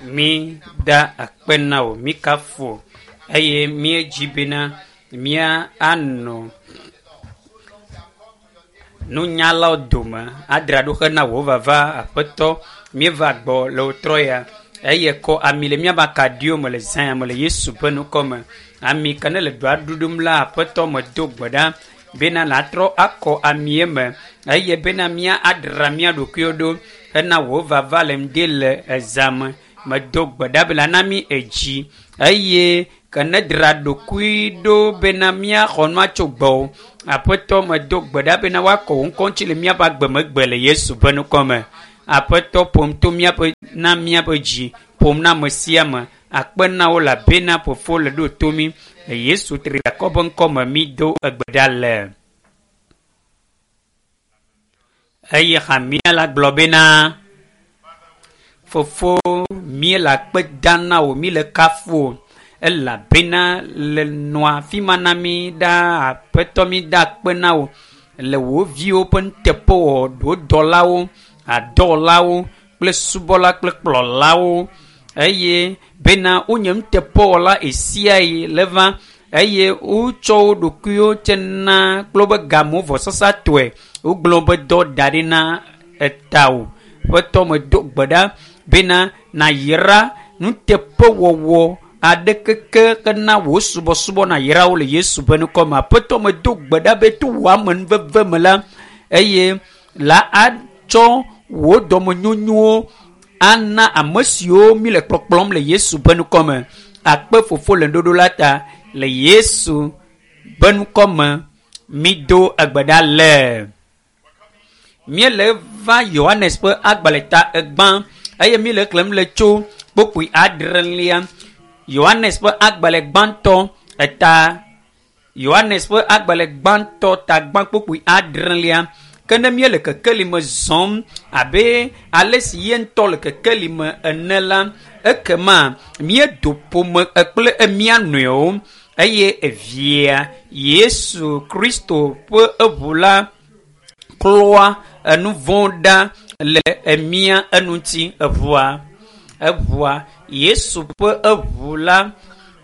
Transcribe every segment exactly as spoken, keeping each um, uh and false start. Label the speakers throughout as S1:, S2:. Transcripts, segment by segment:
S1: Mi da akpe na wò, mi kafu wò eye míedzi bena mía anɔ nunyalawo dome adzra ɖo hena wò vava aƒetɔ míeva gbɔ le wotrɔ ya eye kɔ ami le míaƒe akaɖiwo me le zã ya me le Yesu ƒe ŋkɔ me. Ami ke ne le dɔa ɖuɖum la aƒetɔ medo gbe ɖa bena nàtrɔ akɔ amie me eye bena mía adzra mía ɖokuiwo ɖo hena wò vava le ŋdi le ezã me. Medo gbe ɖa be na mí edzi eye ke ne dzra ɖokui ɖo bena míaxɔ nua tso gbɔwò. Aƒetɔ medo gbe ɖa bena woakɔ wò ŋkɔ ŋuti le míaƒe agbemegbe le Yesu ƒe ŋkɔ me. Aƒetɔ ƒom to míaƒe na míaƒe dzi ƒom na ame sia ame. Akpe na wo elabena fofo le ɖo to mí. Le Yesu triakɔ ƒe ŋkɔ me mído egbe ɖa le. Eye hamea la gblɔ bena fofo míele akpe dam na wò, míele kafu wò elabena le nɔa afi ma na mí ɖaa. Aƒetɔ mí da akpe na wò le wò viwo ƒe nuteƒewɔwɔ, wò dɔlawo, adɔwɔlawo kple subɔla kple kplɔlawo eye bena wonye nuteƒewɔla ɣe le va eye wotsɔ wo ɖokuiwo tse na kple woƒe gamewo vɔsasatɔe. Wogblɔ woƒe dɔ da ɖi na etawò. Ƒetɔ medo gbe ɖa bena nàyra nuteƒewɔwɔ aɖeke ke hena wò subɔsubɔ nàyra wo le Yesu ƒe ŋkɔ me. Aƒetɔ medo gbe ɖa be to wò amenuveve me la eye la atsɔ wò dɔmenyonyowo ana ame siwo mi le kplɔkplɔm le Yesu ƒe ŋkɔ me. Akpe fofo le ŋuɖoɖo la ta le Yesu ƒe ŋkɔ me mído egbe ɖa le. Míele va Yohanes ƒe agbalẽ ta egbã eye míele xlẽm le tso kpukpui adrelia. Yohanes ƒe agbalẽ gbãtɔ eta Yohanes ƒe agbalẽ gbãtɔ ta gbã kpukpui adrelia. Ke ne míele kekeli me zɔm abe ale si ye ŋutɔ le kekeli me ene la, ekema míedo ƒome kple mía nɔewo eye evia Yesu Kristo ƒe eʋu la klɔa enu vɔ̃ ɖa le emía eŋuti. Eʋua, eʋua Yesu ƒe eʋu la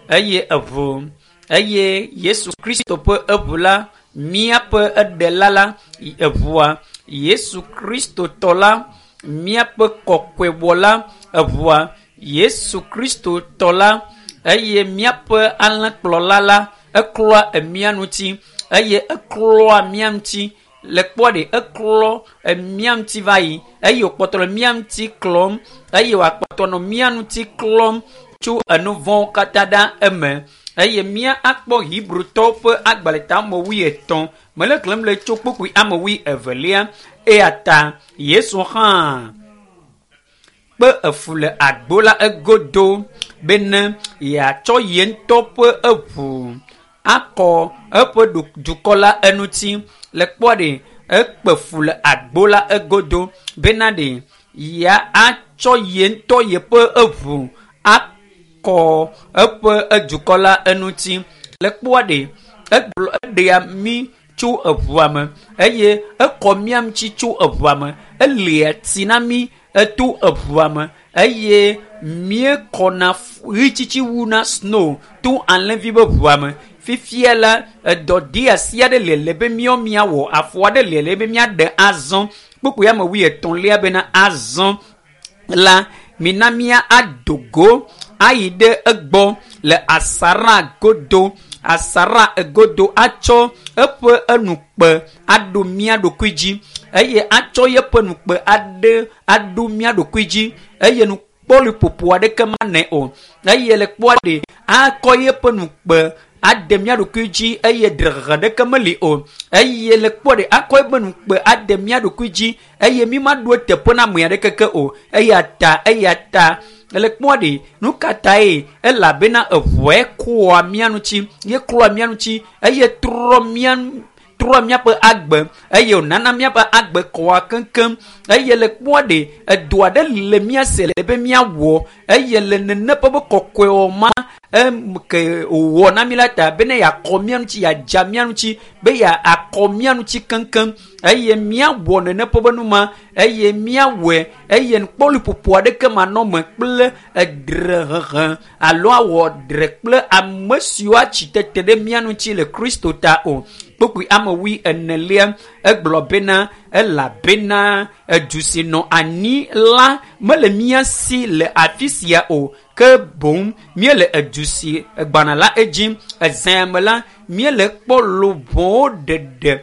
S1: eye eʋu eye Yesu Kristo ƒe eʋu la míaƒe eɖela la eʋua Yesu Kristo tɔ la míaƒe kɔkɔewɔla eʋua Yesu Kristo tɔ la eye míaƒe alẽkplɔla la eklɔa emía ŋuti eye eklɔa mía ŋuti le kpɔ ɖe eklɔ emía ŋuti va yi eye wòkpɔtɔ le mía ŋuti klɔm eye wòakpɔtɔ nɔ mía ŋuti klɔm tso enu vɔ̃wo katã ɖa eme eye mía akpɔ Hebrewtɔwo ƒe agbalẽ ta ame wuietɔ̃ mele xlẽm le tso kpukpui ame wuievelia eya ta Yesu hã kpe efu le agbo la egodo bene yeatsɔ ye ŋutɔ ƒe eʋu akɔ eƒe dukɔ la eŋuti. Le kpɔ ɖe ekpe fu le agbo la egodo bena ɖe ya atsɔ ye ŋutɔ yeƒe eʋu akɔ eƒe edukɔ la eŋuti. Le kpɔ ɖe egblɔ eɖea mí tso eʋua me eye ekɔ mía ŋuti tso eʋua me elia tsi na mí eto eʋua me eye míekɔna ɣitsitsi wu na snow to alẽvi ƒe ʋua me. Fifia la edɔ de asi aɖe le le be míawo míawɔ afɔ aɖe le le be míaɖe azɔ. Kpukpui ame wuietɔ̃lia bena azɔ la mina mía ado go ayi ɖe egbɔ le asara godo asara egodo atsɔ eƒe enukpe aɖo mía ɖokui dzi eye atsɔ yeƒe nukpe aɖe aɖo mía ɖokui dzi eye nukpɔliƒoƒo aɖeke manɛ o eye le kpɔa ɖe akɔ yeƒe nukpe ade mía ɖokui dzi eye drehehe ɖeke meli o eye le kpɔ ɖe akɔ eƒe nukpe ade mía ɖokui dzi eye mi ma ɖo eteƒe na ame aɖeke ke o eya ta eya ta le kpɔ ɖe nu ka tae elabena eʋuae kɔa mía ŋuti ye klɔa mía ŋuti eye trɔ mía trɔ míaƒe agbe eye wònana míaƒe agbe kɔa keŋkeŋ eye le kpɔ ɖe edo aɖe le mía se le be míawɔ eye le nene ƒe be kɔkɔewɔ ma Em ke wòwɔ na mi la ta bene yeakɔ mía ŋuti yeadza mía ŋuti be yeakɔ mía ŋuti keŋkeŋ eye míawɔ nene ƒe be nu ma eye míawɔe eye nukpɔliƒoƒo aɖeke manɔ me kple edrehehe alo awɔ dre kple ame siwo atsi tete ɖe mía ŋuti le Kristo ta o. Kpukpui ame wui enelia egblɔ bena elabena edu si nɔ anyi la mele mía si le afi sia o ke boŋ míele edu si gbana la edzi. Ezã me la míele kpɔ luʋɔwo ɖeɖe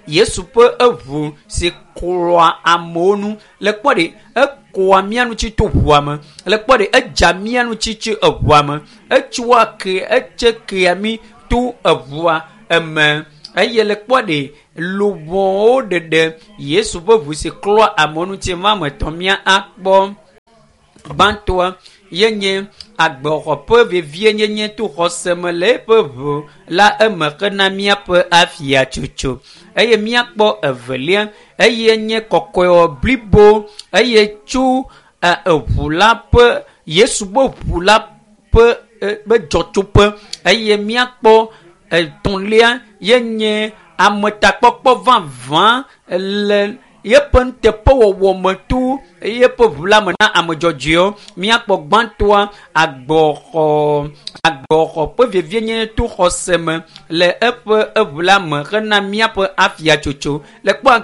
S1: Yesu ƒe eʋu si klɔa amewo nu le kpɔ ɖe ekɔa mía ŋuti to ʋua me le kpɔ ɖe edza mía ŋuti tso eʋua me etsoa ke etse kea mí to eʋua eme eye le kpɔ ɖe luʋɔwo ɖeɖe Yesu ƒe ʋu si klɔa amewo ŋuti ma ame etɔ̃ mía akpɔ. Gbãtɔa ye nye agbexɔ ƒe vevienyenye to xɔse me le eƒe ʋu la eme hena míaƒe afiatsotso eye míakpɔ evelia eye nye kɔkɔewɔ blibo eye tso eʋu la ƒe Yesu ƒe ʋu la ƒe ƒe dzɔtsoƒe eye míakpɔ etɔ̃lia ye nye ametakpɔkpɔ vavã le yeƒe nuteƒewɔwɔ me to yeƒe ʋu la me na ame dzɔdzɔewo. Míakpɔ gbãtɔa agbɔxɔ agbɔxɔ ƒe vevienyenye to xɔse me le eƒe eʋu la me hena míaƒe afiatsotso. Le kpɔ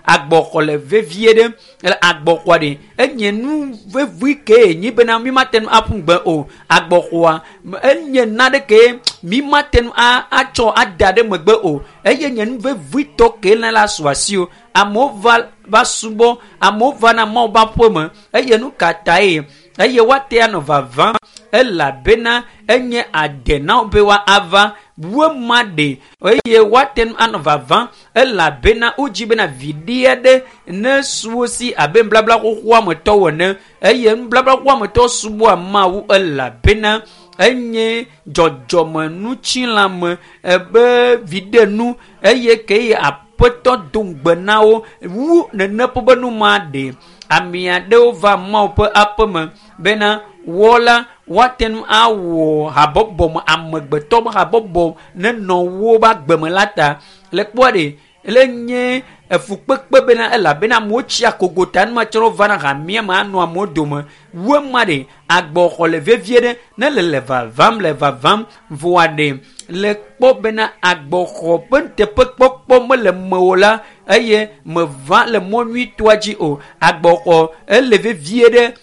S1: agbɔxɔ le vevie ɖe le agbɔxɔa ɖe enye nu vevi ke nyi bena mi mate ŋu aƒu gbe o. Agbɔxɔa enye naɖe mi mate ŋu atsɔ ada ɖe megbe o eye nye nu vevitɔ ke le la su asi o. Amewo va va subɔ amewo va na Mawu ƒe aƒeme eye nu ka tae eye woate anɔ vavam elabena enye ade na wo be woava wema ɖe eye woate ŋu anɔ vavam elabena wodzi bena viɖe aɖe ne su wo si abe nublabla xoxoa me tɔwo ene eye nublabla xoxoa me tɔwo subɔa Mawu elabena enye dzɔdzɔmenutsilãme ebe viɖenu eye ke aƒetɔ do ŋugbe na wo wu nene ƒe be nu ma ɖe. Ame aɖewo va Mawu ƒe aƒeme bena wɔ la woate ŋu awɔ habɔbɔ me amegbetɔ ƒe habɔbɔ nenɔ woƒe agbe me la ta. Le kpɔa ɖe le nye efukpekpe bena elabena amewo tsi akogo ta enumake wova na hamea me anɔ amewo dome. Wema ɖe agbɔxɔ le vevie ɖe ne le le vavam le vavam vɔa ɖe le kpɔ bena agbɔxɔ ƒe nuteƒekpɔkpɔ mele mewò la eye meva le mɔ nyuitɔa dzi o. Agbɔxɔ ele vevie ɖe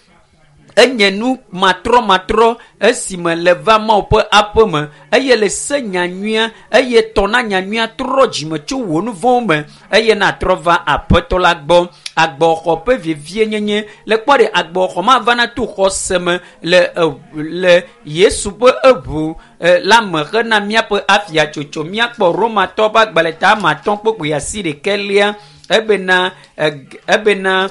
S1: enye nu matrɔmatrɔ esime le va Mawu ƒe aƒeme eye le se nyanyuia eye tɔ na nyanyuia trɔ dzime tso wò nu vɔ̃wo me eye natrɔ va aƒetɔ la gbɔ. Agbɔxɔ ƒe vevienyenye le kpɔ ɖe agbɔxɔ ma va na to xɔse me le le Yesu ƒe eʋu la me hena míaƒe afiatsotso. Míakpɔ Romatɔ ƒe agbalẽ ta ame atɔ̃ kpukpui asi ɖekɛlia ebena ebena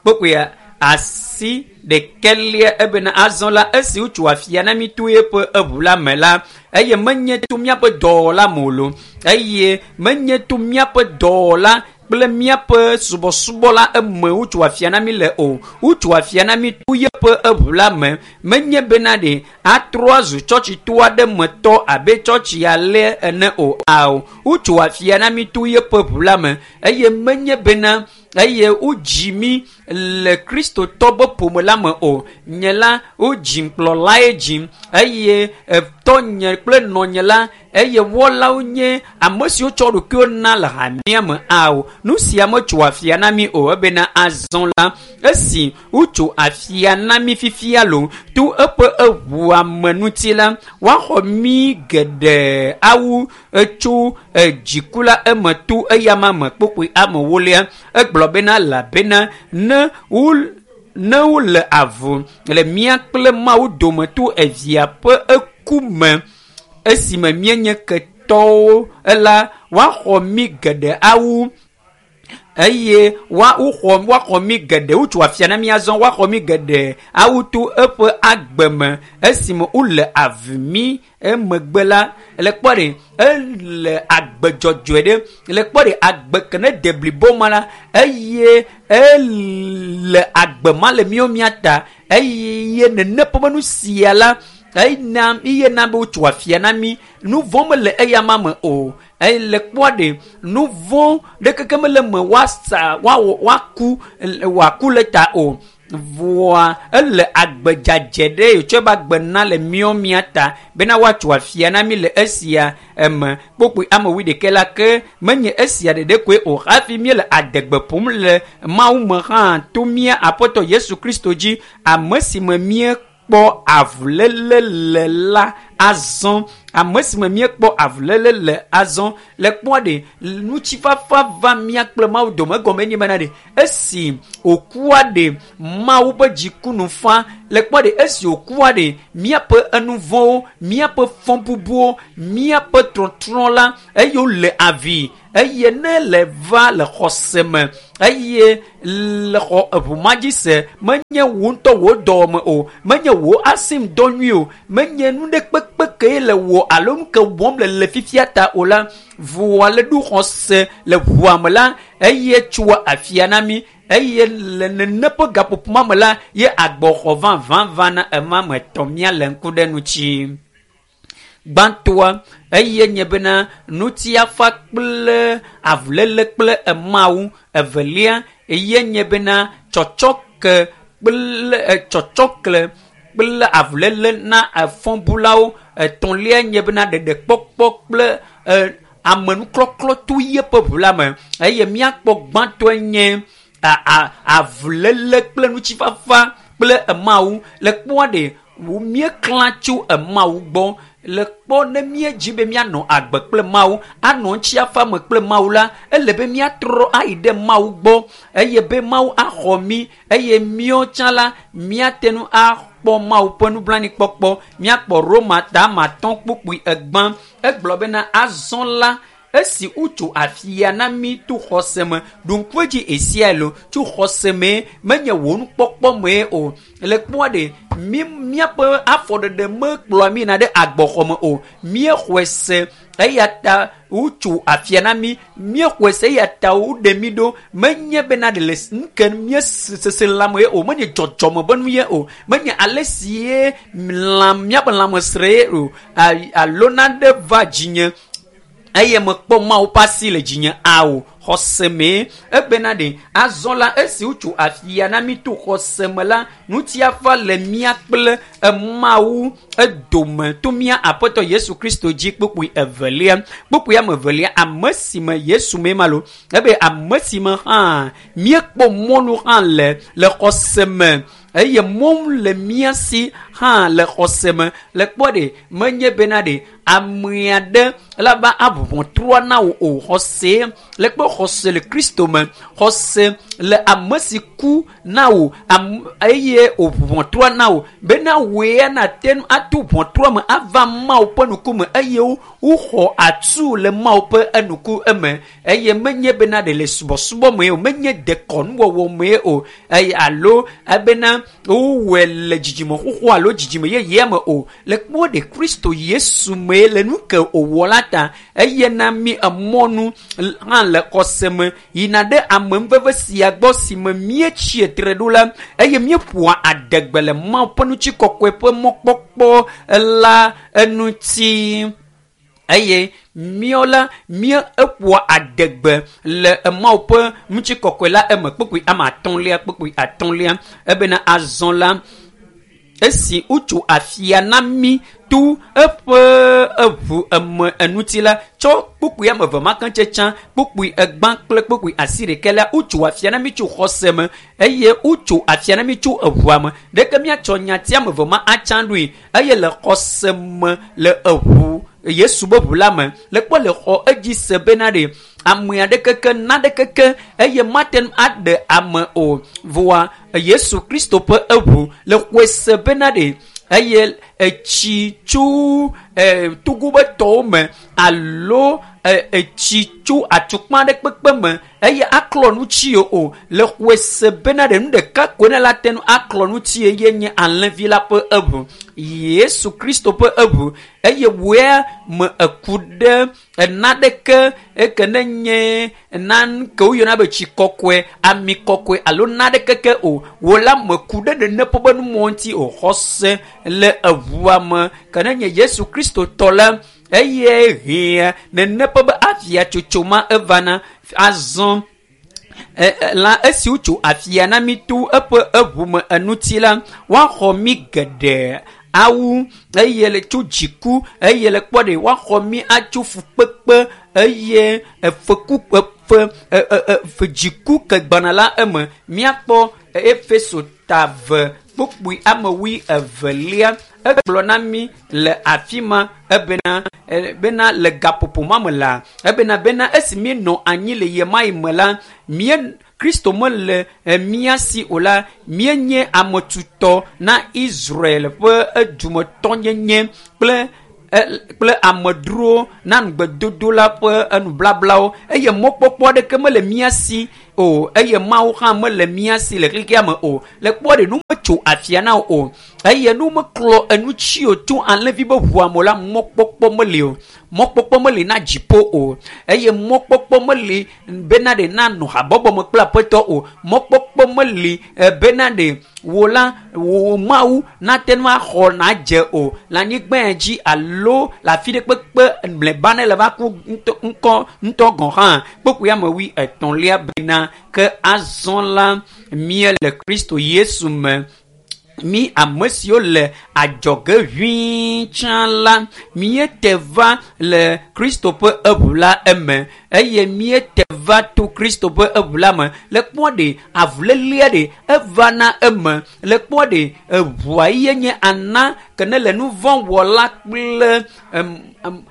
S1: kpukpui asi ɖekɛlia ebena azɔ la esi wotso afia na mí to eƒe eʋu la me la eye menye to míaƒe dɔwɔla me o lo eye menye to míaƒe dɔwɔla kple míaƒe subɔsubɔ la eme wotso afia na mí le o. Wotso afia na mí to yeƒe eʋu la me menye bena ɖe atrɔ azu tsɔtsito aɖe me tɔ abe tsɔtsi ale ene o. Ao wotso afia na mí to yeƒe ʋu la me eye menye bena eye wodzi mí le Kristotɔ ƒe ƒome la me o. Nye la wodzim kplɔlae dzim eye tɔnye kple nɔnye la eye wɔlawo nye ame siwo tsɔ ɖokuiwo na le hamea me. Ao nu sia metso afia na mí o ebena azɔ la esi wotso afia na mí fifia lo to eƒe eʋua me ŋuti la woaxɔ mí geɖe awu etso dziku la eme to eyama me. Kpukpui ame ewolia egblɔ bena elabena ne wo ne wole avu le mía kple Mawu dome to evia ƒe eku me esime míenye ketɔwo la woaxɔ mí geɖe awu eye woaxɔ woaxɔ mí geɖe wotso afia na mí azɔ woaxɔ mí geɖe awu to eƒe agbe me esime wole avu mí emegbe la le kpɔ ɖe ele agbe dzɔdzɔe ɖe le kpɔ ɖe agbe ke ne de blibo ma la eye ele agbe ma le míawo mía ta eye nene ƒe nu sia la Ena iye na be wotso afia na mi nu vɔ̃ mele eya ma me o. Eye le kpɔa ɖe nu vɔ̃ ɖekeke mele me woasa woawɔ woaku wòaku le ta o. Vɔa ele agbe dzadze ɖe yetsɔ be agbe na le míawo mía ta bena woatso afia na mi le esia eme. Kpokpoe ame wuiɖekɛ la ke menye esia ɖeɖe koe o hafi míele adegbe ƒom le Mawu me hã to mía Aƒetɔ Yesu Kristo dzi, ame si me míekpɔ avuléle le la azɔ. Ame si me míekpɔ avuléle le azɔ. Le kpɔa ɖe ŋutifafa va mía kple Mawu dome egɔme nye bena ɖe esi wòkua ɖe Mawu ƒe dziku nu fa. Le kpɔa ɖe esi wòkua ɖe míaƒe enuvɔ̃wo, míaƒe fɔbubuwo, míaƒe trɔtrɔ la eye wole avi eye ne le va le xɔse me eye le xɔ eʋu ma dzi se menye wò ŋutɔ wò dɔwɔme o, menye wò asim dɔ nyui o, menye nu ɖe kpekpe ke le wò alo nu ke wɔm le le fifia ta o la, vɔa le ɖo xɔse le ʋua me la eye tsoa afia na mi eye le nene ƒe gaƒoƒo ma me la ye agbɔxɔ vavã va na ema me tɔ mía le ŋku ɖe ŋuti. Gbãtɔa eye nye bena ŋutifafa kple avuléle kple Mawu. Evelia eye nye bena tsɔtsɔke kple tsɔtsɔke kple avuléle na fɔbulawo. Etɔ̃lia nye bena ɖeɖekpɔkpɔ kple amenuklɔklɔ to yeƒe ʋu la me. Eye míakpɔ gbãtɔe nye avuléle kple ŋutifafa kple Mawu. Le kpɔa ɖe míeklã tso Mawu gbɔ. Le kpɔ ne míedzi be míanɔ agbe kple Mawu, anɔ ŋutifafa me kple Mawu la, ele be míatrɔ ayi ɖe Mawu gbɔ eye be Mawu axɔ mí eye míawo tsã la míate ŋu akpɔ Mawu ƒe nublanuikpɔkpɔ. Míakpɔ Roma ta atɔ̃ kpukpui egbã. Egblɔ bena azɔ la esi wotso afia na mí to xɔse me, ɖo ŋku edzi esia lo tso xɔse mee menye wò nukpɔkpɔ mee o. Le kpɔa ɖe mí míaƒe afɔɖeɖe mekplɔa mí yina ɖe agbɔxɔ me o. Míexɔe se eya ta wotso afia na mí. Míexɔe se eya ta woɖe mí ɖo. Menye bena ɖe le nu ke míesese lãme ye o, menye dzɔdzɔme be nu ye o, menye ale si ye lã míaƒe lãmesre ye o alo nane va dzinye eye mekpɔ Mawu ƒe asi le dzinye ao. Xɔse mee ebena ɖe azɔ la esi wotso afia na mí to xɔse me la, ŋutifafa le mía kple Mawu edome to mía Aƒetɔ Yesu Kristo dzi. Kpukpui evelia, kpukpui ame evelia, ame si me Yesu mee ma lo ebe ame si me hã míekpɔ mɔnu hã le le xɔse me eye mɔnu le mía si hã le xɔse me. Le kpɔ ɖe menye bena ɖe ame aɖe la va aʋu ʋɔtrua na wò o. Xɔse le kpɔ xɔse le Kristo me, xɔse le ame si ku na wò eye wòʋu ʋɔtrua na wò bena wòe nate ŋu ato ʋɔtrua me ava Mawu ƒe ŋkume eye woxɔ atu le Mawu ƒe enuku eme. Eye menye bena ɖe le subɔsubɔ me o, menye dekɔnuwɔwɔ me o, eye alo ebena wowɔe le dzidzime xoxo alo dzidzime yeyea me o. Le kpɔ ɖe Kristo Yesu me le nu ke wòwɔ la ta eye na mí emɔnu hã le xɔse me yina ɖe amenuveve sia gbɔ si me míetsi tre ɖo la eye míeƒoa adegbe le Mawu ƒe ŋutikɔkɔe ƒe mɔkpɔkpɔ la eŋuti. Eye míawo la mía eƒoa adegbe le Mawu ƒe ŋutikɔkɔe la eme. Kpukpui ame atɔ̃lia, kpukpui atɔ̃lia ebena azɔ la esi wotso afia na mí to eƒe eʋu eme eŋuti la, tsɔ kpukpui ame eve ma ke tse tsã, kpukpui egbã kple kpukpui asiɖekɛ la, wotso afia na mí tso xɔse me eye wotso afia na mí tso eʋua me. Ɖeke míatsɔ nyati ame eve ma atsã ɖoe eye le xɔse me le eʋu Yesu be ʋu la me. Le kpɔ le xɔ edzi se bena ɖe ame aɖeke ke naɖeke ke eye mate ŋu aɖe ame o. Vɔa Yesu Kristo ƒe eʋu le xɔe se bena ɖe eye etsi tso togo be tɔwo me alo etsi tso atukpa ɖe kpekpe me eye aklɔ ŋuti o. Le xɔe se bena ɖe nu ɖeka koe ne la te ŋu aklɔ ŋuti ye nye alẽvi la ƒe eʋu, Yesu Kristo ƒe eʋu. Eye wòe me eku ɖe naɖeke eke ne nye nane ke woyɔna be tsi kɔkɔe, ami kɔkɔe alo naɖeke ke o. Wò la meku ɖe nene ƒe be numɔ ŋuti o. Xɔse le eʋu eʋua me ke ne nye Yesu Kristo tɔ la eye hĩa nene ƒe be afia tsotso ma evana azɔ la esi wotso afia na mi to eƒe eʋu me enuti la woaxɔ mi geɖe awu eye le tso dziku eye le kpɔ ɖe woaxɔ mi atso fukpekpe eye efeku efe efe dziku ke gbana la eme miakpɔ Efeso ta ve kpukpui ame wui evelia egblɔ na mi le afi ma ebena bena le gaƒoƒo ma me la ebena bena esi mienɔ anyi le ɣemaɣi me la mie Kristo mele mía si o la míenye ame tutɔ na Israel ƒe edumetɔnyenye kple kple amedzrowo na ŋugbedodo la ƒe enublablawo eye mɔkpɔkpɔ aɖeke mele mía si o eye Mawu hã mele mía si le xexea me o le kpɔ ɖe nu metso afia na wo o eye nu meklɔ enu tsi o tso alẽvi be ʋua me la mɔkpɔkpɔ meli o mɔkpɔkpɔ meli na dziƒo o eye mɔkpɔkpɔ meli bena ɖe nanɔ habɔbɔ me kple aƒetɔ o mɔkpɔkpɔ meli bena ɖe wò la wò Mawu nate ŋu axɔ nadze o le anyigba dzi alo le afi ɖe kpekpe mlɔeba ne le va ku ŋkɔ ŋutɔ gɔ̃ hã kpukpui ame wui etɔ̃lia bena ke azɔ la míele Kristo Yesu me mi ame siwo le adzɔge ʋĩi tsã la míete va le Kristo ƒe eʋu la eme eye míete va to Kristo ƒe eʋu la me le kpɔ ɖe avulélia ɖe eva na eme le kpɔ ɖe eʋua ye nye ana ke ne le nu vɔ̃ wɔla kple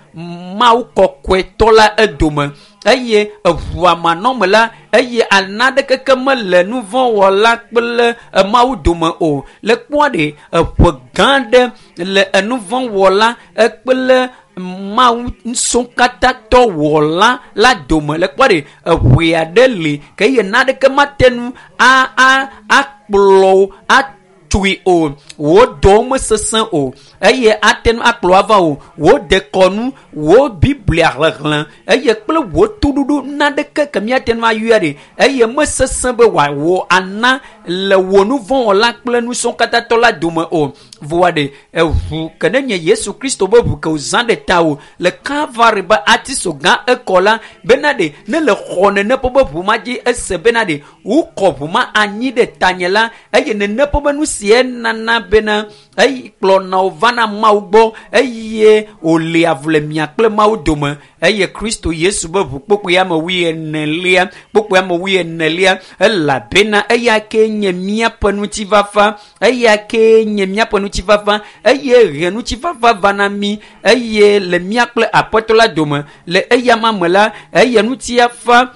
S1: Mawu kɔkɔetɔ la edome eye eʋua manɔme la eye ana ɖekeke mele nu vɔ̃ wɔla kple Mawu dome o le kpɔ ɖe eƒe gã ɖe le enu vɔ̃ wɔla kple Mawu ŋusẽkatãtɔ wɔla la dome le kpɔ ɖe eʋe aɖe li ke eye naɖeke mate ŋu a a akplɔ wo atui o wò dɔwo mesesẽ o eye ate ŋu akplɔ ava o wò dekɔnu wò Biblia xexlẽ eye kple wò toɖoɖo naɖeke ke míate ŋu ayɔe ɖe eye mesesẽ be wòawɔ ana le wò nu vɔ̃ wɔla kple ŋusẽkatãtɔ la dome o voa ɖe eʋu ke ne nye Yesu Kristo be ʋu ke wòzã ɖe ta o le Kalvari be atiso gã ekɔ la bena ɖe ne le xɔ nene ƒe be ʋu ma dzi ese bena ɖe wokɔ ʋu ma anyi ɖe tanye la eye nene ƒe be nu si enana bena eyi kplɔna wo vana Mawu gbɔ eye wòle avu le mia kple Mawu dome eye Kristo Yesu be ʋu kpokpoe ame wui enelia kpokpoe ame wui enelia elabena eya ke nye míaƒe ŋutifafa eya ke nye míaƒe ŋutifafa eye he ŋutifafa va na mí eye le mía kple aƒetɔ la dome le eya ma me la eye ŋutifafa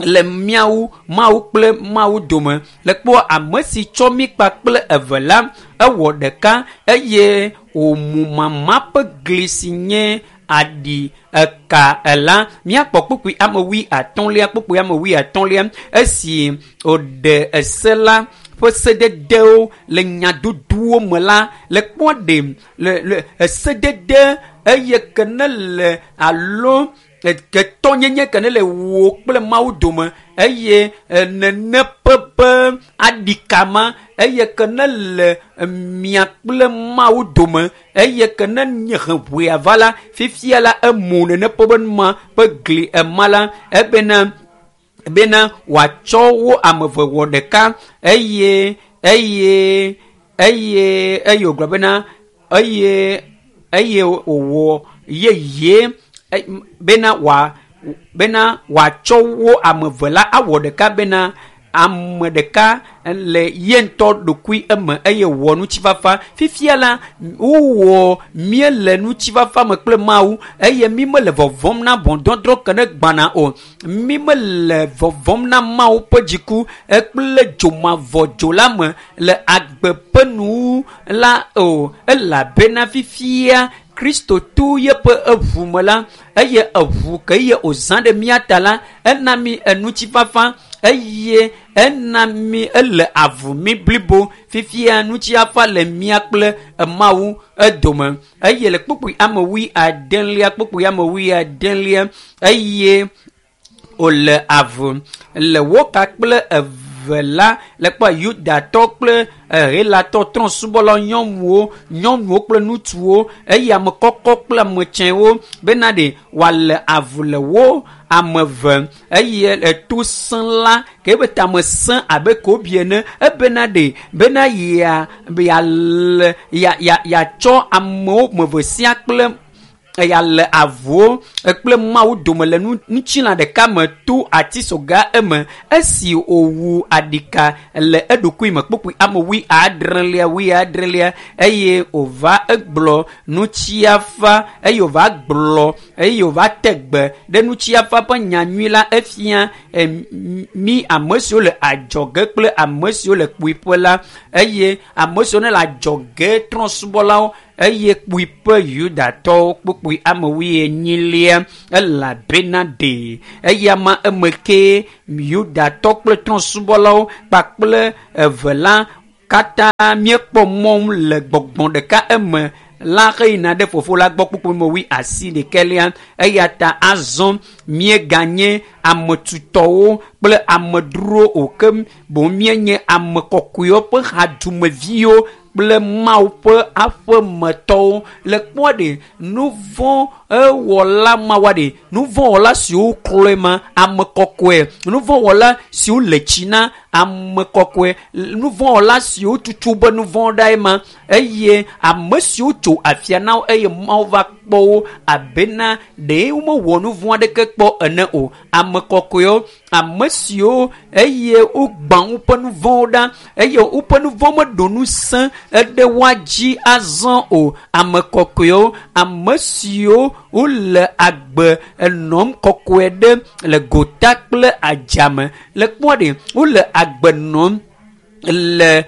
S1: le míawo Mawu kple Mawu dome le kpɔ ame si tsɔ mí kpakple eve la ewɔ ɖeka eye wòmu mama ƒe gli si nye aɖi eka ela míakpɔ kpukpui ame wui atɔ̃lia kpukpui ame wui atɔ̃lia esi wòɖe ese la ƒe sededewo le nyadodowo me la le kpɔ ɖe le le esedede eye ke ne le alo ketɔnyenye ke ne le wò kple Mawu dome eye nene ƒe be aɖikama eye ke ne le mia kple Mawu dome eye ke ne nye heʋuia va la fifia la emu nene ƒe be numa ƒe gli ema la ebena bena wòatsɔ wo ame eve wɔ ɖeka eye eye eye eye wògblɔ bena eye eye wòwɔ yeye bena wòa bena wòatsɔ wo ame eve la awɔ ɖeka bena ame ɖeka le ye ŋutɔ ɖokui eme eye wɔ ŋutifafa fifia la wowɔ míele ŋutifafa me kple Mawu eye mí mele vɔvɔm na ʋɔnudɔdrɔ̃ ke ne gbana o mí mele vɔvɔm na Mawu ƒe dziku kple dzomavɔ dzo la me le agbe ƒe nuwu la o elabena fifia Kristo to yeƒe eʋu me la eye eʋu ke ye wòzã ɖe mía ta la ena mí eŋutifafa eye ena mí ele avu mí blibo fifia ŋutifafa le mía kple Mawu edome eye le kpukpui ame wui adelia kpukpui ame wui adelia eye wòle avu le woka kple eve eve la le kpɔ Yudatɔ kple Helatɔ trɔ̃subɔlawo, nyɔnuwo, nyɔnuwo kple ŋutsuwo, eye ame kɔkɔ kple ame tsɛwo bena ɖe wòale avu le wo ame eve eye eto sẽ la ke ebe tame sẽ abe kobi ene ebena ɖe bena ya yale ya ya yatsɔ amewo me eve sia kple eya le avuwo kple Mawu dome le ŋutilã ɖeka me to atisoga eme esi wòwu aɖika le eɖokui me kpokpui ame wui adrelia wui adrelia eye wòva egblɔ nutsiafa eye wòva gblɔ eye wòva te gbe ɖe nutsiafa ƒe nyanyui la efia mi ame siwo le adzɔge kple ame siwo le kpuiƒe la eye ame siwo ne le adzɔge trɔ̃subɔlawo eye kpuiƒe Yudatɔwo kpokpui ame wuienyilia elabena ɖe eya ma eme ke Yudatɔ kple trɔ̃subɔlawo kpakple eve la katã míekpɔ mɔ le gbɔgbɔ ɖeka eme la xeyina ɖe fofo la gbɔ kpokpui me wui asi ɖekɛlia eya ta azɔ míeganye ame tutɔwo kple amedzrowo o ke boŋ míenye ame kɔkɔewo ƒe hadumeviwo kple Mawu ƒe aƒemetɔwo le kpɔ ɖe nu vɔ̃ ewɔla mawoa ɖe nu vɔ̃ wɔla siwo klɔe ma ame kɔkɔe nu vɔ̃ wɔla siwo le tsi na ame kɔkɔe nu vɔ̃ wɔla siwo tutu be nu vɔ̃ ɖae ma eye ame siwo tso afia na wo eye Mawu va kpɔ wo abena ɖe womewɔ nu vɔ̃ aɖeke kpɔ ene o ame kɔkɔewo ame siwo eye wogbã woƒe nu vɔ̃wo ɖa eye woƒe nu vɔ̃ meɖo ŋusẽ eɖe woa dzi azɔ o ame kɔkɔewo ame siwo wole agbe enɔm kɔkɔe ɖe le gota kple adzame le kpɔ ɖe wole agbe nɔm le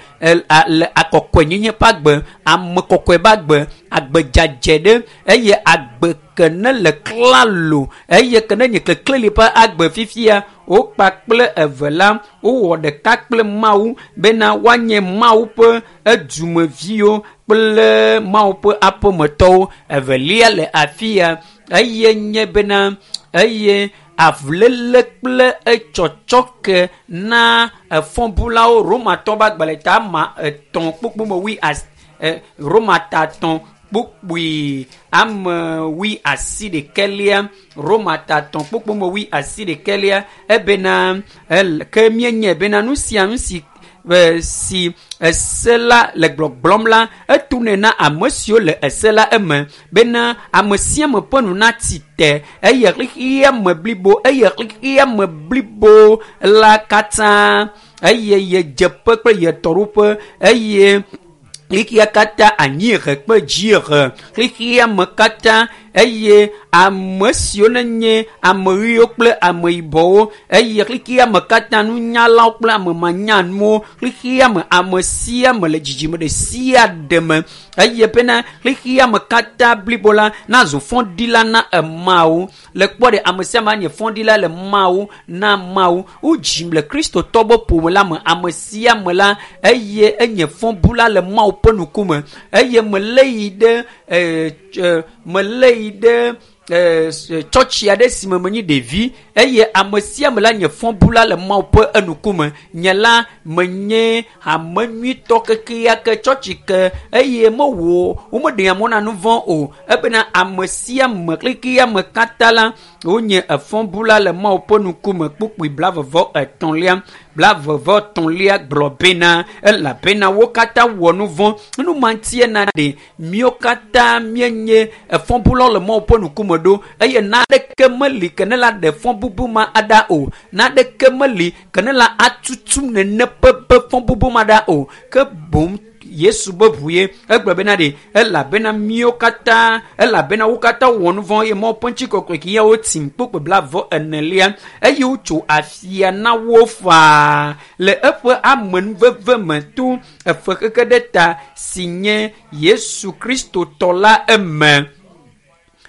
S1: le akɔkɔenyenye ƒe agbe ame kɔkɔe ƒe agbe agbe dzadzɛ ɖe eye agbe ke ne le klalo eye ke ne nye kekleli ƒe agbe fifia wokpa kple eve la wowɔ ɖeka kple Mawu bena woanye Mawu ƒe edumeviwo kple Mawu ƒe aƒemetɔwo evelia le afia eye nye bena eye avuléle kple etsɔtsɔke na efɔbulawo Romatɔ ƒe agbalẽ ta ma etɔ̃ kpokpo me wui asi Roma ta etɔ̃ kpokpui ame wui asi ɖekɛlia Roma ta etɔ̃ kpokpo me wui asi ɖekɛlia ebena ke míenye bena nu sia nu si si ese la le gbɔgblɔm la etunɛ na ame siwo le ese la eme bena ame sia ame ƒe nu nati te eye xexea me blibo eye xexea me blibo la katã eye yedzeƒe kple yetɔɖoƒe eye xexea katã anyiehe kple dziehe xexea me katã eye ame siwo nenye ame ɣiwo kple ame yibɔwo eye xexea me katã nunyalawo kple ame manyanuwo xexea me ame sia ame le dzidzime ɖe sia ɖe me eye bena xexea me katã blibo la nazu fɔɖila na emawo le kpɔ ɖe ame sia ame anye fɔɖila le Mawu na Mawu wodzim le Kristotɔ be ƒome la me ame sia ame la eye enye fɔbula le Mawu ƒe ŋkume eye melé yi ɖe ee melé yi ɖe tsɔtsi aɖe si me menye ɖevi eye ame sia ame la nye fɔbula le Mawu ƒe enukume nye la menye ame nyuitɔ kekeake tsɔtsi ke eye mewɔ womeɖea mɔ na nu vɔ̃ o ebena ame sia ame xexea me katã la wonye efɔbula le Mawu ƒe ŋkume kpukpui blavevɔ etɔ̃lia blavevɔ etɔ̃lia gblɔ bena elabena wo katã wɔ nu vɔ̃ nu ma ŋutie na ɖe míwo katã míenye efɔbulawo le Mawu ƒe ŋkume ɖo eye naɖeke meli ke ne la ɖe fɔbubu ma aɖa o naɖeke meli ke ne la atutu nene ƒe ƒe fɔbubu ma ɖa o ke boŋ Yesu be ʋu ye egblɔ bena ɖe elabena míwo katã elabena wo katã wɔ nu vɔ̃ eye Mawu ƒe ŋutikɔkɔe ke ya wotim kpokpo blavɔ enelia eye wotso afia na wo faa le eƒe amenuveve me to efe xexe ɖe ta si nye Yesu Kristo tɔ la eme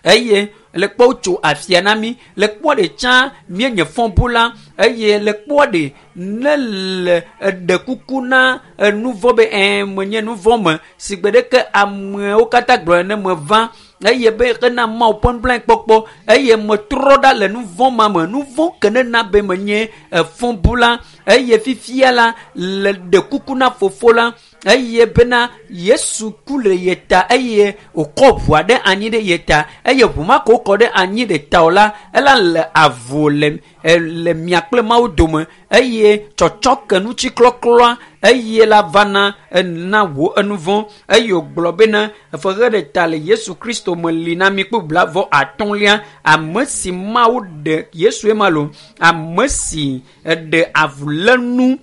S1: eye le kpɔ wotso afia na mí le kpɔ ɖe tsã míenye fɔbula eye le kpɔ ɖe ne le eɖe kuku na enu vɔ̃ be ɛɛ menye nu vɔ̃ me si gbe ɖeke amewo katã gblɔ ene meva eye be ena Mawu ƒe nublanuikpɔkpɔ eye metrɔ ɖa le nu vɔ̃ ma me nu vɔ̃ ke ne na be menye efɔbula eye fifia la le ɖe kuku na fofo la eye bena Yesu ku le ye ta eye wòkɔ ʋua ɖe anyi ɖe ye ta eye ʋu ma ko wokɔ ɖe anyi ɖe ta o la ela le avu le le mia kple Mawu dome eye tsɔtsɔke ŋutiklɔklɔa eye la vana ena wò enuvɔ̃ eye wògblɔ bena fexe ɖe ta le Yesu Kristo me li na mi kple blavɔ atɔ̃lia ame si Mawu ɖe Yesue ma lo ame si ɖe avulénu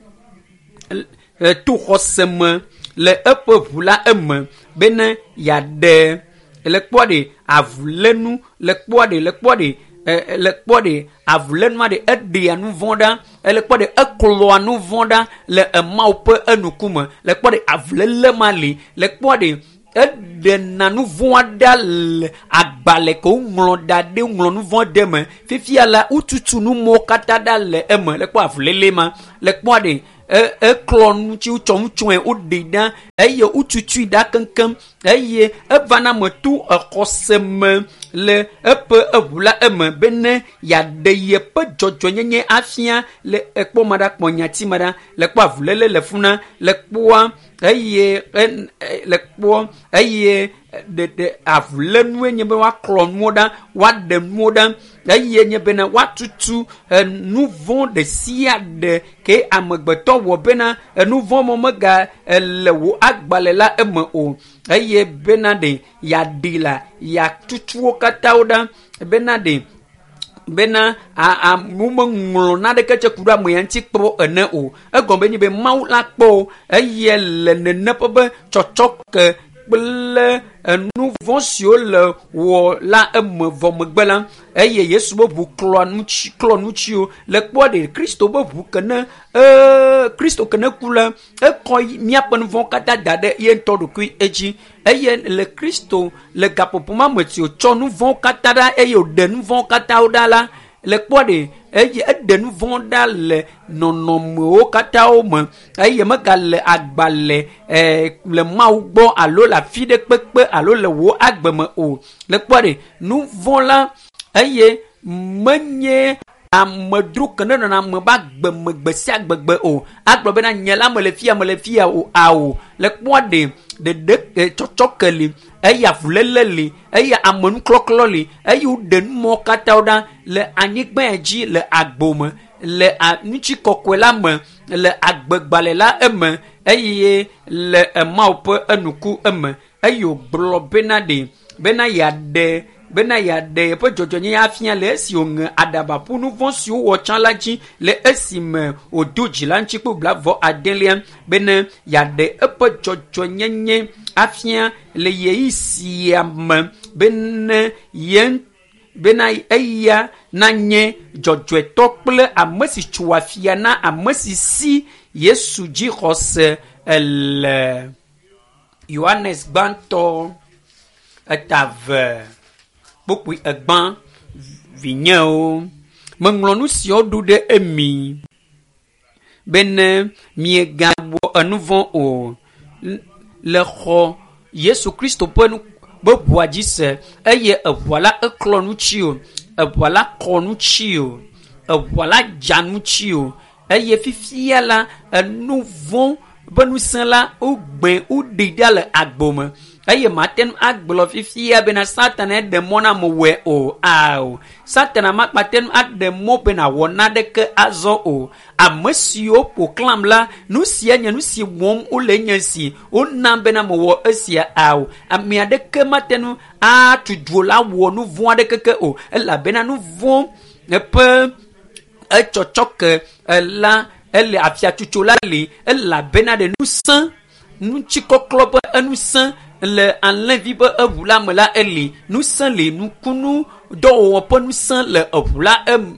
S1: to xɔse me le eƒe ʋu la eme bene yeaɖe le kpɔa ɖe avulénu le kpɔa ɖe le kpɔa ɖe le kpɔ ɖe avulénua ɖe eɖea nu vɔ̃ ɖa le kpɔ ɖe eklɔa nu vɔ̃ ɖa le Mawu ƒe enukume le kpɔ ɖe avuléle ma li le kpɔ ɖe eɖena nu vɔ̃ ɖa le agbalẽ ke woŋlɔ da ɖe ŋlɔ nu vɔ̃ ɖe me fifia la wotutu nu mɔwo katã ɖa le eme le kpɔ avuléle ma le kpɔ ɖe eklɔ nu tsi wotsɔ nu tsɔe woɖe ɖa eye wotutui ɖa keŋkeŋ eye evana me to exɔse me le eƒe eʋu la eme bene yeaɖe yeƒe dzɔdzɔnyenye afia le ekpɔ ma ɖa kpɔ nyati ma ɖa le kpɔ avuléle le funa le kpɔa eye le kpɔ eye ɖeɖe avulénue nye be woaklɔ nuwo ɖa woaɖe nuwo ɖa eye nye bena woatutu nu vɔ̃ ɖe sia ɖe ke amegbetɔ wɔ bena nu vɔ̃ mɔ mega le wò agbalẽ la eme o eye bena ɖe yeaɖi la yeatutu wo katã wo ɖa bena ɖe bena amewo meŋlɔ naneke tse ku ɖe ame ya ŋuti kpɔ ene o egɔme nye be Mawu la kpɔ o eye le nene ƒe be tsɔtsɔke kple enu vɔ̃ siwo le wɔ la eme vɔ megbe la eye Yesu be ʋu klɔ nutsi klɔ nutsiwo le kpɔ ɖe Kristo be ʋu ke ne ee Kristo ke ne ku la ekɔ míaƒe nu vɔ̃ katã da ɖe ye ŋutɔ ɖokui edzi eye le Kristo le gaƒoƒo ma me si wòtsɔ nu vɔ̃ katã ɖa eye wòɖe nu vɔ̃ katã ɖa la le kpɔ ɖe eye eɖe nu vɔ̃ ɖa le nɔnɔmewo katã wo me eye megale agbalẽ ɛɛ le Mawu gbɔ alo le afi ɖe kpekpe alo le wò agbe me o le kpɔ ɖe nu vɔ̃ la eye menye amedzro ke ne nɔna ame be agbe me gbe sia gbegbe o agblɔ bena nye la mele fia mele fia o ao le kpɔa ɖe ɖeɖe tsɔtsɔke li eye avuléle li eye amenuklɔklɔ li eye woɖe numɔwo katã ɖa le anyigba dzi le agbo me le ŋutikɔkɔe la me le agbegbalẽ la eme eye le Mawu ƒe enuku eme eye wògblɔ bena ɖe bena yeaɖe bena yeaɖe yeƒe dzɔdzɔnyenye afia le esi wòŋe aɖaba ƒu nu vɔ̃ siwo wɔ tsã la dzi le esime wòdo dzi la ŋuti kple blavɔ adelia bene yeaɖe eƒe dzɔdzɔnyenye afia le ɣeyiɣi sia me bene ye bena eya nanye dzɔdzɔetɔ kple ame si tso afia na ame si si Yesu dzi xɔse le. Yohanes gbãtɔ eta eve kpukpui egbã vinyewo meŋlɔ nu siawo ɖo ɖe emi bene miegawɔ enu vɔ̃ o le xɔ Yesu Kristo ƒe nu be ʋua dzi se eye eʋua la eklɔ ŋuti o eʋua la kɔ ŋuti o eʋua la dza ŋuti o eye fifia la enu vɔ̃ be ŋusẽ la wogbe woɖi ɖa le agbo me eye mate ŋu agblɔ fifia bena Satana eɖe mɔ na ame wɔe o ao Satana makpate ŋu aɖe mɔ bena wɔ naneke azɔ o ame siwo ƒo xlãm la nu sia nye nu si wɔm wole nye si wonam bena mewɔ esia ao ame aɖeke mate ŋu atu dzo la wɔ nu vɔ̃ aɖeke ke o elabena nu vɔ̃ eƒe etsɔtsɔke la ele afiatsotso la li elabena ɖe ŋusẽ ŋutikɔklɔ ƒe enusẽ le alẽvi ƒe eʋu la me la eli ŋusẽ li nukunu dɔwɔwɔ ƒe ŋusẽ le eʋu la em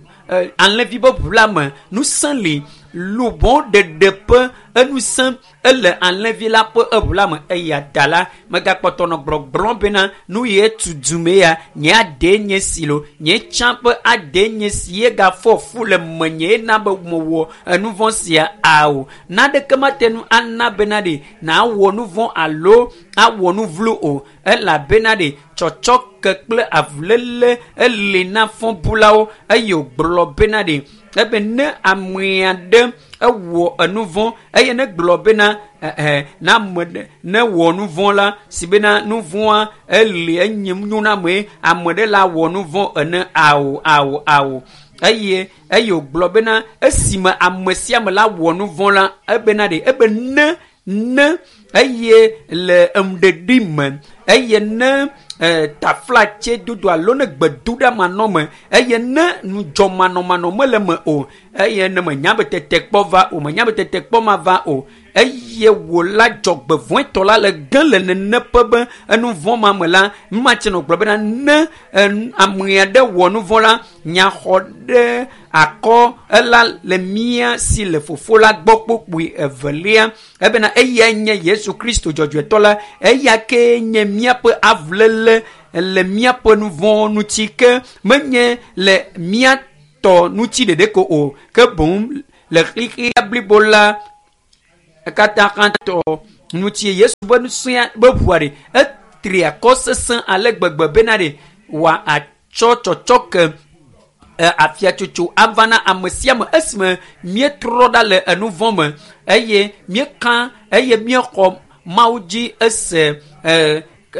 S1: alẽvi ƒe ʋu la me ŋusẽ li Lubɔ ɖeɖe ƒe enusẽ ele alẽvi la ƒe eʋu la me. Eya ta la megakpɔtɔ nɔ gblɔgblɔm bena nu ye tu dume ya nye ade nye si lo nye tsã ƒe ade nye si ye gafɔ fu le menye ena be mewɔ enuvɔ sia ao. Naneke mate ŋu ana bena ɖe nawɔ nuvɔ alo awɔ nu vlo o, elabena ɖe tsɔtsɔke kple avuléle ele na fɔbulawo. Eye wògblɔ bena ɖe ebe ne ame aɖe ewɔ enuvɔ eye ne gblɔ bena ɛɛ na ame ɖe ne wɔ nuvɔ la si bena nuvɔa ele enye nyo na ame ame ɖe la wɔ nuvɔ ene ao ao ao. Eye eye wògblɔ bena esime ame sia ame la wɔ nuvɔ la ebena ɖe ebe ne ne eye le enuɖeɖi me eye ne taflatse dodo alo ne gbedoɖa manɔme eye ne nudzɔmanɔmanɔ mele me o eye ne menya be tetekpɔ va o menya be tetekpɔ ma va o eye wò la dzɔgbevɔ̃etɔ la le ge le nene ƒe be enuvɔ ma me la numatse nɔ gblɔ bena ne ame aɖe wɔ nuvɔ la nyaxɔ ɖe akɔ ela le mía si le fofo la gbɔ kpokpoe evelia ebena eyae nye Yesu Kristo dzɔdzɔetɔ la eya ke nye míaƒe avuléle le míaƒe nuvɔ ŋuti ke menye le mía tɔ ŋuti ɖeɖe ko o ke boŋ le xexea blibo la katã hã tɔ ŋuti. Yesu be nusẽa be ʋua ɖe etri akɔ sesẽ ale gbegbe bena ɖe wòa atsɔ tsɔtsɔke afiatsotso ava na ame sia ame esime míetrɔ ɖa le enuvɔ me eye míeka eye míexɔ Mawu dzi ese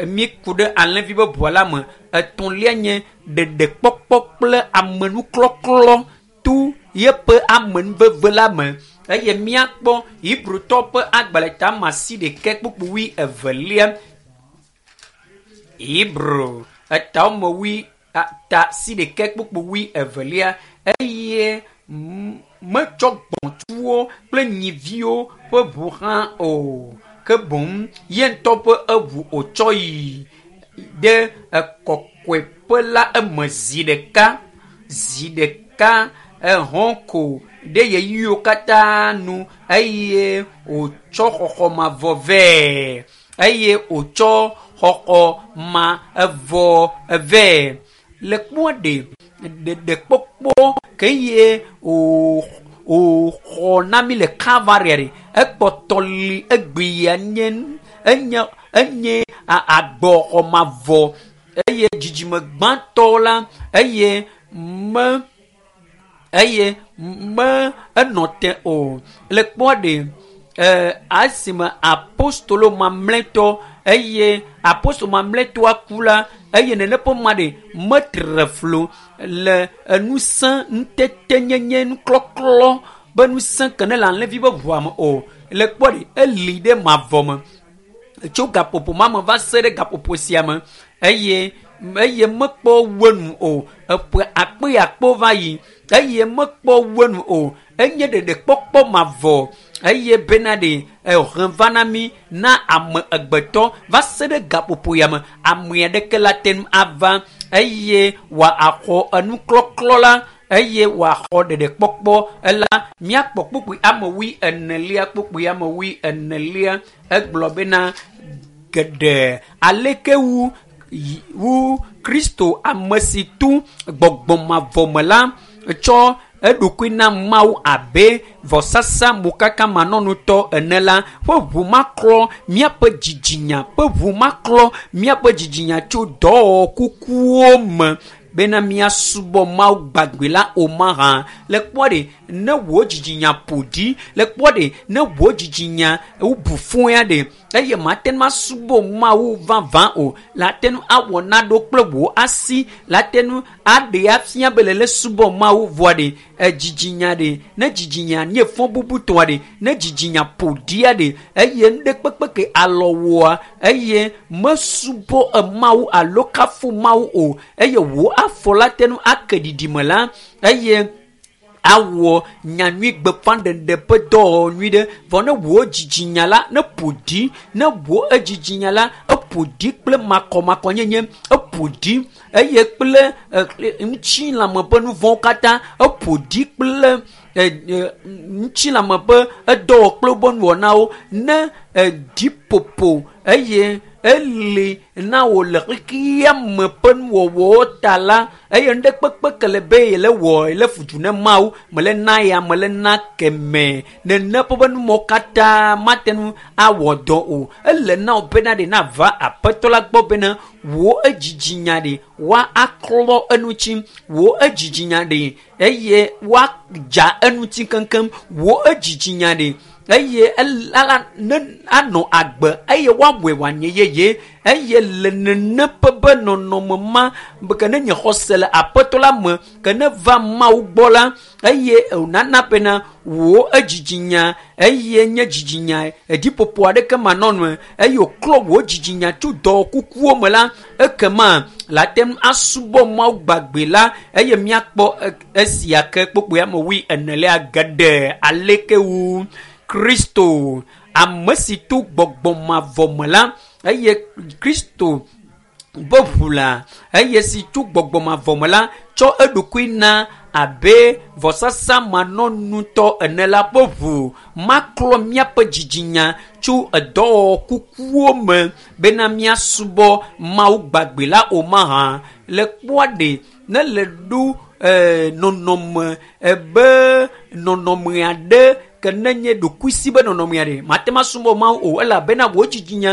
S1: míeku ɖe alẽvi be ʋua la me. Etɔ̃lia nye ɖeɖekpɔkpɔ kple amenuklɔklɔ to yeƒe amenuveve la me. Eye míakpɔ Hebrewtɔ ƒe agbalẽ ta asi ɖekɛ kpukpui wui evelia. Hebrew eta wɔme wui ta si ɖekɛ kpukpui wui evelia eye metsɔ gbɔ̃tsuwo kple nyiviwo ƒe ʋu hã o ke boŋ ye ŋutɔ ƒe eʋu wòtsɔ yi ɖe ekɔkɔeƒe la eme zi ɖeka zi ɖeka ehɔn ko ɖe ɣeyiɣiwo katã nu eye wòtsɔ xɔxɔ mavɔ vɛ eye wòtsɔ xɔxɔ mavɔ vɛ. Le kpɔa ɖe ɖeɖekpɔkpɔ ke ye wòxɔ na mí le Kalvari ɖe ekpɔtɔ li egbe ya nye enye enye agbɔxɔ mavɔ eye dzidzime gbãtɔ la eye me eye me enɔ te o. Le kpɔa ɖe esime apostolo mamlɛtɔ eye apostolo mamlɛtɔa ku la eye nene ƒe ma ɖe metre flo le enusẽ ŋutetenyenye nuklɔklɔ be nusẽ ke ne le alẽvi be ʋua me o. Le kpɔ ɖe eli ɖe mavɔ me tso gaƒoƒo ma me va se ɖe gaƒoƒo sia me eye eye mekpɔ wenu o. Eƒe akpe akpo va yi eye mekpɔ wenu o. Enye ɖeɖekpɔkpɔ mavɔ eye bena ɖe ehe va na mí na ame egbetɔ va se ɖe gaƒoƒo ya me. Ame aɖeke la te ŋu ava eye wòaxɔ enuklɔklɔ la eye wòaxɔ ɖeɖekpɔkpɔ ela. Míakpɔ kpukpui ame wui enelia kpukpui ame wui enelia egblɔ bena geɖe aleke wu wu Kristo ame si tu gbɔgbɔ mavɔ me la tsɔ eɖokui na Mawu abe vɔsasa mokaka manɔnutɔ ene la ƒe ʋu maklɔ míaƒe dzidzinya ƒe ʋu maklɔ míaƒe dzidzinya tso dɔwɔwɔ kukuwo me bena míasubɔ Mawu gbagbe la o mahã. Le kpɔ ɖe ne wò dzidzinya ƒo ɖi le kpɔ ɖe ne wò dzidzinya wobu fũ ya ɖe eye mate ŋu asubɔ Mawu vavã o la te ŋu awɔ naɖo kple wò asi la te ŋu aɖe afia be le le subɔ Mawu vɔa ɖe edzidzinya ɖe ne dzidzinya nye fɔ bubutɔa ɖe ne dzidzinya ƒo ɖia ɖe eye nu ɖe kpekpe ke alɔ wɔa eye mesubɔ Mawu alo kafu Mawu o eye wò afɔ la te ŋu ake ɖiɖime la eye awɔ nyanyui gbeƒãɖeɖe ƒe dɔwɔwɔ nyui ɖe vɔ ne wò dzidzinya la ne ƒo ɖi ne wò edzidzinya la eƒo ɖi kple makɔmakɔnyenye eƒo ɖi eye kple ŋutilãme ƒe nu vɔ̃wo katã eƒo ɖi kple ŋutilãme ƒe edɔwɔ kple woƒe nuwɔnawo ne edziƒoƒo eye eli na wò le xexea me ƒe nuwɔwɔwo ta la eye nu ɖe kpekpe ke le be yele wɔ yele fudu ne Mawu mele na ya mele na keme nene ƒe ƒe numɔwo katã mate ŋu awɔ dɔ o. Ele na wò bena ɖe nava aƒetɔ la gbɔ bena wò edzidzinya ɖe woa aklɔ eŋuti wò edzidzinya ɖe eye woadza eŋuti keŋkeŋ wò edzidzinya ɖe eye ala ne anɔ agbe eye woawɔe wòanye yeye eye le nene ƒe be nɔnɔme ma ke ne nye xɔse le aƒetɔ la me ke ne va Mawu gbɔ la eye wònana bena wò edzidzinya eye nye dzidzinya edziƒoƒo aɖeke manɔ eye wòklɔ wò dzidzinya tso dɔ kukuwo me la ekema la te ŋu asubɔ Mawu gbagbe la eye míakpɔ esia ke kpokpoe ame wui enelia geɖe aleke wu Kristo ame si to gbɔgbɔ mavɔ me la eye Kristo be ʋu la eye si tso gbɔgbɔ mavɔ me la tsɔ eɖokui na abe vɔsasa manɔnutɔ ene la ƒe ʋu maklɔ míaƒe dzidzinya tso edɔwɔwɔ kukuwo me bena míasubɔ Mawu gbagbe la o mahã le kpɔa ɖe ne le ɖo ee nɔnɔme ebe nɔnɔme aɖe ke ne nye ɖokuisi be nɔnɔme aɖe mate ŋu asubɔ Mawu o elabena wò dzidzinya